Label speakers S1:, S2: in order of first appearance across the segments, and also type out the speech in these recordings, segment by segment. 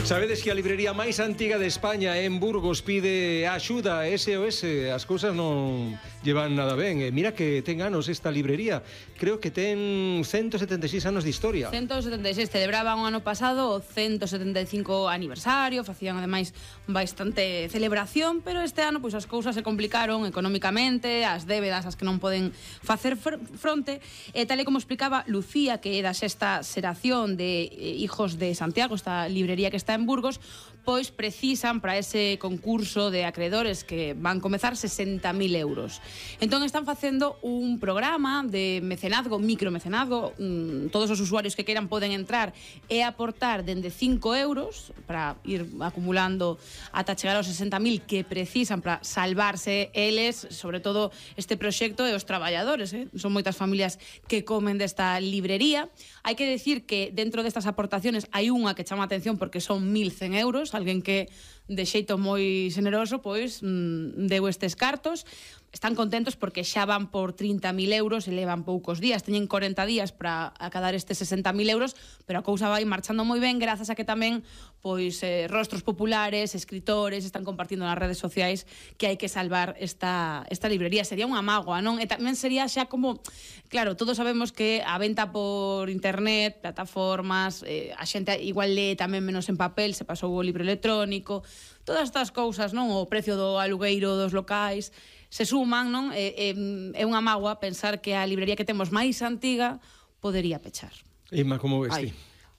S1: Sabedes que a librería máis antiga de España en Burgos pide axuda SOS, as cousas non llevan nada ben. Mira que ten anos esta librería, creo que ten 176 anos de historia.
S2: 176, celebraban o ano pasado o 175 aniversario, facían ademais bastante celebración, pero este ano pois as cousas se complicaron económicamente, as débedas as que non poden facer fronte, e tal e como explicaba Lucía, que é da sexta xeración de Hijos de Santiago, esta librería que está en Burgos, pois precisan para ese concurso de acreedores que van comezar 60.000 euros. Entón están facendo un programa de mecenazgo, micromecenazgo, todos os usuarios que queiran poden entrar e aportar dende 5 euros para ir acumulando ata chegar aos 60.000 que precisan para salvarse eles, sobre todo este proxecto e os traballadores, son moitas familias que comen desta librería. Hai que decir que dentro destas aportaciones hai unha que chama a atención porque son 1.100 euros, alguén que de xeito moi xeneroso pois deu estes cartos. Están contentos porque xa van por 30.000 euros e levan poucos días, teñen 40 días para acadar estes 60.000 euros, pero a cousa vai marchando moi ben grazas a que tamén pois rostros populares, escritores están compartindo nas redes sociais que hai que salvar esta librería. Sería unha mágoa, non? E tamén sería xa como, claro, todos sabemos que a venta por internet, plataformas, a xente igual lee tamén menos en papel, se pasou o libro electrónico, todas estas cousas, non? O precio do alugueiro dos locais se suman, non? É unha mágoa pensar que a librería que temos máis antiga podería pechar.
S1: Inma, como ves ti?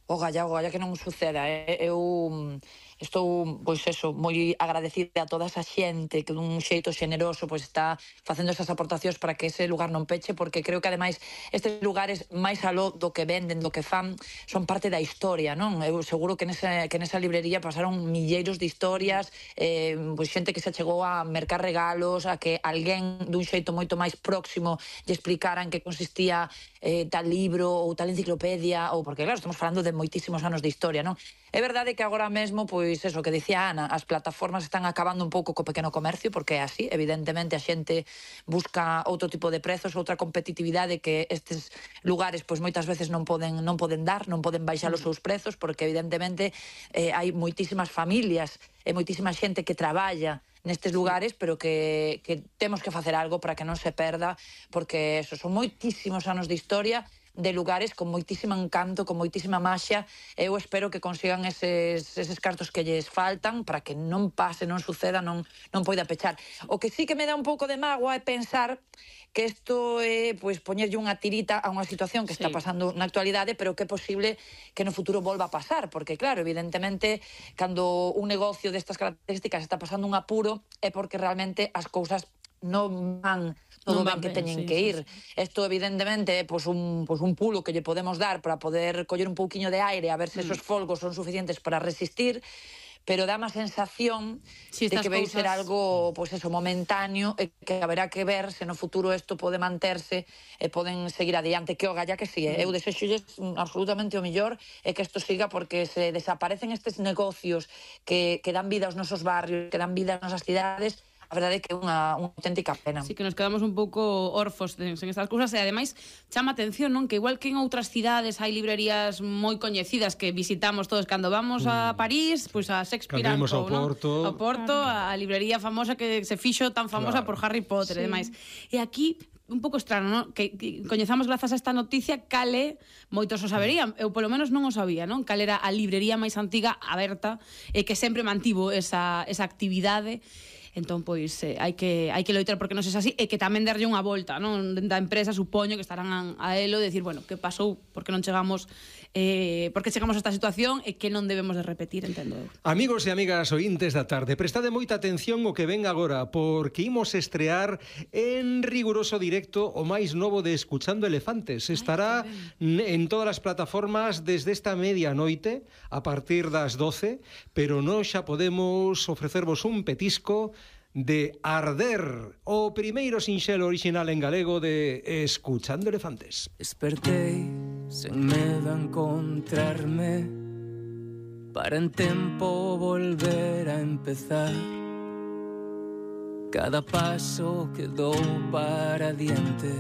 S3: O galla que non suceda. Eu estou, pois eso, moi agradecida a toda esa xente que dun xeito xeneroso pois está facendo esas aportacións para que ese lugar non peche, porque creo que ademais estes lugares máis aló do que venden, do que fan, son parte da historia, non? Eu seguro que nesa librería pasaron milleiros de historias, pois xente que se chegou a mercar regalos, a que alguén dun xeito moito máis próximo lle explicaran que consistía tal libro ou tal enciclopedia, ou porque claro, estamos falando de moitísimos anos de historia, non? É verdade que agora mesmo, pois eso que dicía Ana, as plataformas están acabando un pouco co pequeno comercio, porque é así, evidentemente a xente busca outro tipo de prezos, outra competitividade que estes lugares pois moitas veces non poden dar, non poden baixar os seus prezos, porque evidentemente hai moitísimas familias e moitísima xente que traballa nestes lugares, pero que temos que facer algo para que non se perda, porque eso, son moitísimos anos de historia, de lugares con moitísimo encanto, con moitísima maxia. Eu espero que consigan eses cartos que lles faltan para que non pase, non suceda, non poida pechar. O que sí que me dá un pouco de mágoa é pensar que isto é pois poñerlle unha tirita a unha situación que está pasando na actualidade, pero que é posible que no futuro volva a pasar, porque claro, evidentemente, cando un negocio destas características está pasando un apuro, é porque realmente as cousas non van todo ben que teñen que ir. Isto evidentemente é pois un pulo que lle podemos dar para poder coller un pouquiño de aire a ver se esos folgos son suficientes para resistir, pero dá má sensación de que vai ser algo pois eso, momentáneo, e que haberá que ver se no futuro isto pode manterse e poden seguir adiante, que o galla que si. Eu desexolles absolutamente o millor e que isto siga, porque se desaparecen estes negocios que dan vida aos nosos barrios, que dan vida ás nosas cidades, a verdade é que é unha auténtica pena.
S2: Sí, que nos quedamos un pouco orfos en estas cousas, e ademais chama atención, non? Que igual que en outras cidades hai librerías moi coñecidas que visitamos todos cando vamos a París, pois a Shakespeare,
S1: ao Porto,
S2: ao Porto, a librería famosa que se fixo tan famosa por Harry Potter e demais. E aquí un pouco estrano, non? Que coñezamos grazas a esta noticia cale, moitos o saberían, eu polo menos non o sabía, non? Cal era a librería máis antiga aberta e que sempre mantivo esa actividade. Entón, pois, hai que loitar porque non sexa así, e que tamén darlle unha volta, non? Da empresa, supoño que estarán a elo de decir, bueno, que pasou, porque non chegamos porque chegamos a esta situación e que non debemos de repetir, entendo eu.
S1: Amigos e amigas ointes da tarde, prestade moita atención o que ven agora, porque imos estrear en riguroso directo o máis novo de Escuchando Elefantes. Estará en todas as plataformas desde esta medianoite, a partir das 12, pero nós xa podemos ofrecervos un petisco de Arder, o primeiro sinxelo orixinal en galego de Escuchando Elefantes.
S4: Despertei sen medo a encontrarme para en tempo volver a empezar. Cada paso que dou para diante